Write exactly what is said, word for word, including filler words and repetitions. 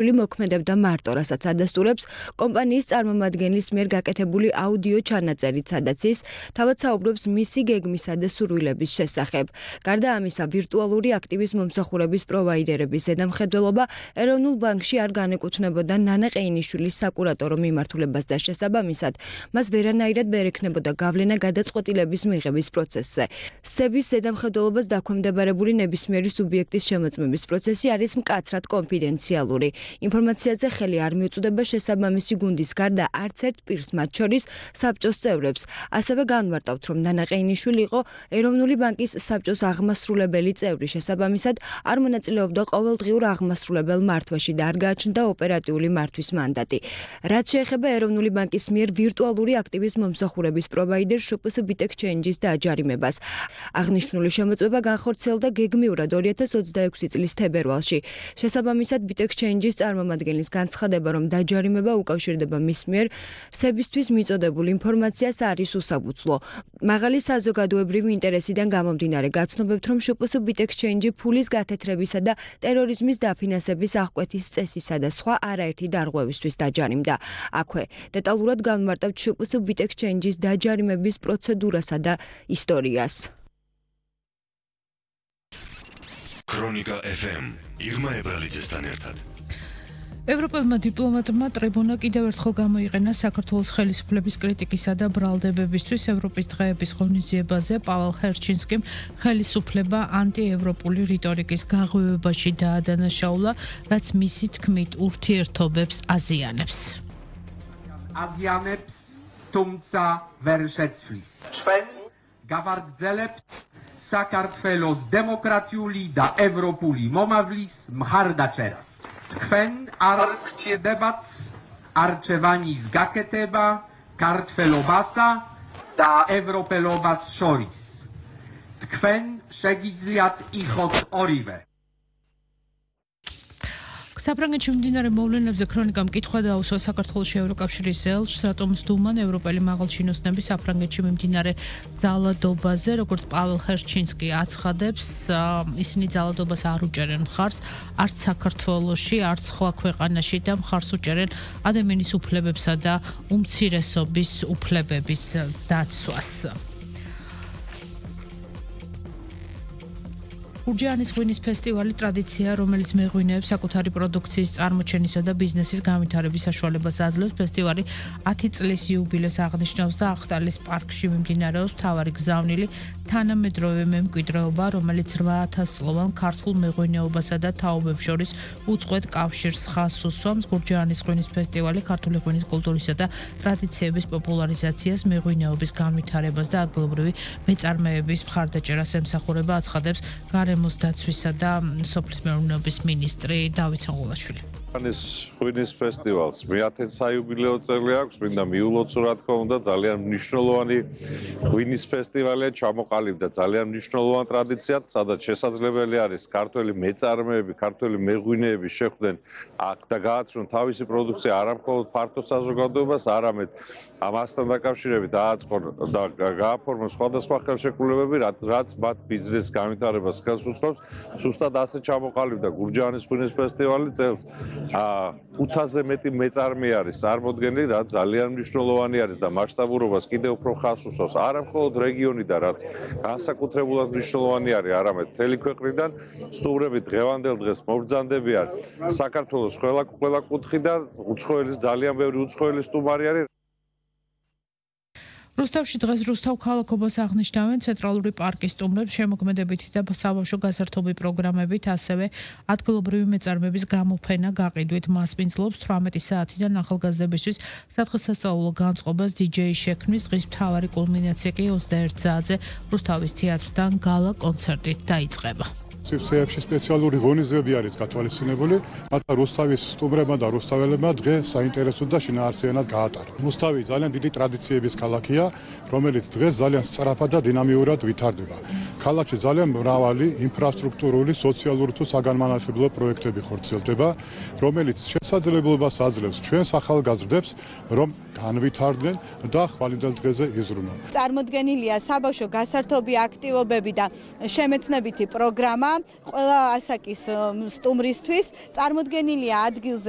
მოქმედებდა მარტო, რასაც ადასტურებს კომპანიის წარმომადგენლის მიერ გაკეთებული აუდიო ჩანაწერით, სადაც ის თავად საუბრობს მისი გეგმისა და სურვილების შესახებ. გარდა ამისა, ვირტუალური აქტივის მომსახურების პროვაიდერების ზედამხედველობა ეროვნულ ბანკში არ განეკუთვნებოდა ნანა ყეინიშვილის საკურატორო მიმართულებას და შესაბამისად, მას ვერანაირად ვერ ექნებოდა გავლენა გადაწყვეტილების მიღების პროცესზე. სების ზედამხედველობას დაქვემდებარებული ნებისმიერი სუბიექტის შემოწმების პროცესი არის მკაცრად კონფიდენციალური. ინფორმაციაზე ხელი არ მიუწვდება შესაბამისი გუნდის გარდა არც ერთ პირს, მათ შორის საბჭოს წევრებს. ასევე განვარტავთ, რომ ნანა ყეინიშვილი იყო ეროვნული ბანკის საბჭოს აღმასრულებელი წევრი, შესაბამისად არ მონაწილეობდა ყოველდღიურ აღმასრულებელ მართვაში და არ გააჩნდა ოპერატიული მართვის მანდატი. რაც შეეხება ეროვნული ბანკის მიერ ვირტუალური აქტივის მომსახურების პროვაიდერ შპს ბიტექჩენჯის დააჯარიმებას. აღნიშნული შემოწმება განხორციელდა გეგმიურად ორი ათას ოცდაექვსი წლის თებერვალში. შესაბამისად, ბიტექჩენჯის წარმომადგენლის განცხადება, რომ დაჯარიმება უკავშირდება მის მიერ სებისთვის მიწოდებულ ინფორმაციას არის უსაბუცლო. მაღალი საზოგადოებრივი ინტერესიდან გამომდინარე გაცნობებთ, რომ შპს ბიტექჩენჯი ფულის გათეთრებისა და ტერორიზმის დაფინანსების აღკვეთის წესისა და სხვა არაერთი დარღვევისთვის დაჯარიმდა. აქვე დეტალურად განვარტავთ შპს ბიტექჩენჯის დაჯარიმების პროცედურასა და ისტორიას. ქრონიკა ეფ ემ ირმა ებრალიძესთან ერთად. ევროპელმა დიპლომატმა ტრიბუნა კიდევ ერთხელ გამოიყენა საქართველოს ხელისუფლების კრიტიკისა და ბრალდებებისთვის ევროპის დღეების ღონისძიებაზე. პაվել ჰერჩინსკიმ ხელისუფლება ანტიევროპული რიტორიკის გაღვივებაში დაადანაშაულა, რაც მისი თქმით ურთიერთობებს აზიანებს. აზიანებს, თუმცა ვერ შეცვლის. ჩვენ გავაგრძელებთ საქართველოს დემოკრატიული და ევროპული მომავლის მხარდაჭერას. თქვენ არ გჭირდებათ არჩევანის გაკეთება ქართველობასა და ევროპელობას შორის. თქვენ შეგიძლიათ იყოთ ორივე. საფრანგეთში მიმდინარე მოვლენებზე ქრონიკამ კითხვა დაუსვა საქართველოში ევროკავშირის ელჩს, რატომ სდუმან ევროპელი მაღალჩინოსნები საფრანგეთში მიმდინარე ძალადობაზე, როგორც პაվել ჰერჩინსკი აცხადებს, ისინი ძალადობას არ უჭერენ მხარს არც საქართველოში, არც სხვა ქვეყანაში და მხარს უჭერენ ადამიანის უფლებებსა და უმცირესობის უფლებების დაცვას. გურჯაანის ღვინის ფესტივალი ტრადიცია, რომელიც მეღვინეებს საკუთარი პროდუქციის წარმოჩენისა და ბიზნესის განვითარების საშუალებას აძლევს. ფესტივალი ათი წლის იუბილეს აღნიშნავს და ახტალის პარკში მიმდინარეობს მთავარი გზავნილი თანამედროვე მემკვიდრეობა, რომელიც რვა ათას წლოვან ქართულ მეღვინეობასა და თაობებს შორის უწყვეტ კავშირს ხაზს უსვამს. გურჯაანის ღვინის ფესტივალი ქართული ღვინის კულტურისა და ტრადიციების პოპულარიზაციას, მეღვინეობის განვითარებას და ადგილობრივი მეწარმეების მხარდაჭერას ემსახურება, აცხადებს გარემოს დაცვისა და სოფლის მეურნეობის მინისტრი დავით სონგულაშვილი. ეს ღვინის ფესტივალს მეათე საიუბილეო წელი აქვს, მინდა მიულოცო რა თქმა უნდა, ძალიან მნიშვნელოვანი ღვინის ფესტივალია, ჩამოყალიბდა ძალიან მნიშვნელოვან ტრადიციად, სადაც შესაძლებელი არის ქართველი მეწარმეები, ქართველი მეღვინეები შეხვდნენ აქ და გააცნონ თავისი პროდუქცია არა მხოლოდ ფართო საზოგადოებას, არამედ ამასთან დაკავშირებით ააწყონ და გააფორმონ სხვადასხვა ხელშეკრულებები, რაც მათ ბიზნეს განვითარებას ხელს უწყობს. Სუსტად ასე ჩამოყალიბდა გურჯაანის ღვინის ფესტივალი წელს. ხუთაზე მეტი მეწარმე არის წარმოდგენილი, რაც ძალიან მნიშვნელოვანი არის და მასშტაბურობას კიდევ უფრო ხაზს უსვამს. არა მხოლოდ რეგიონიდან, რაც განსაკუთრებულად მნიშვნელოვანი არის, არამედ მთელი ქვეყნიდან სტუმრები დღევანდელ დღეს მობრძანდებიან საქართველოს ყველა ყველა კუთხიდან, უცხოელი ძალიან ბევრი უცხოელი სტუმარი არის. რუსთავში დღეს რუსთავ ქალაქობას აღნიშნავენ ცენტრალური პარკის სტუმრებს შემოქმედებითი და საბავშვო გასართობი პროგრამებით, ასევე ადგილობრივი მეწარმეების გამოფენა გაყიდვით. მასპინძლობს თვრამეტი საათიდან ახალგაზრდებისთვის სადღესასწაულო განწყობას დიჯეი შექმნის. დღის მთავარი კულმინაცია კი ოცდაერთ საათზე რუსთავის თეატრთან გალა კონცერტით დაიწყება. სივრცეებში სპეციალური ღონისძიებები არის გათვალისწინებული, მაგრამ რუსთავის სტუმრებმა და რუსთაველებმა დღე საინტერესო და შინაარსიანად გაატარა. რუსთავი ძალიან დიდი ტრადიციების ქალაქია, რომელიც დღეს ძალიან სწრაფად და დინამიურად ვითარდება. ქალაქში ძალიან მრავალი ინფრასტრუქტურული, სოციალური თუ საგანმანათლებლო პროექტები ხორციელდება, რომელიც შესაძლებლობას აძლევს ჩვენს ახალგაზრდებს, რომ განვითარდნენ და ხვალინდელ დღეზე იზრუნონ. წარმოდგენილია საბავშვო გასართობი აქტივობები და შემეცნებითი პროგრამა ყველა ასაკის სტუმრისთვის. წარმოდგენილია ადგილზე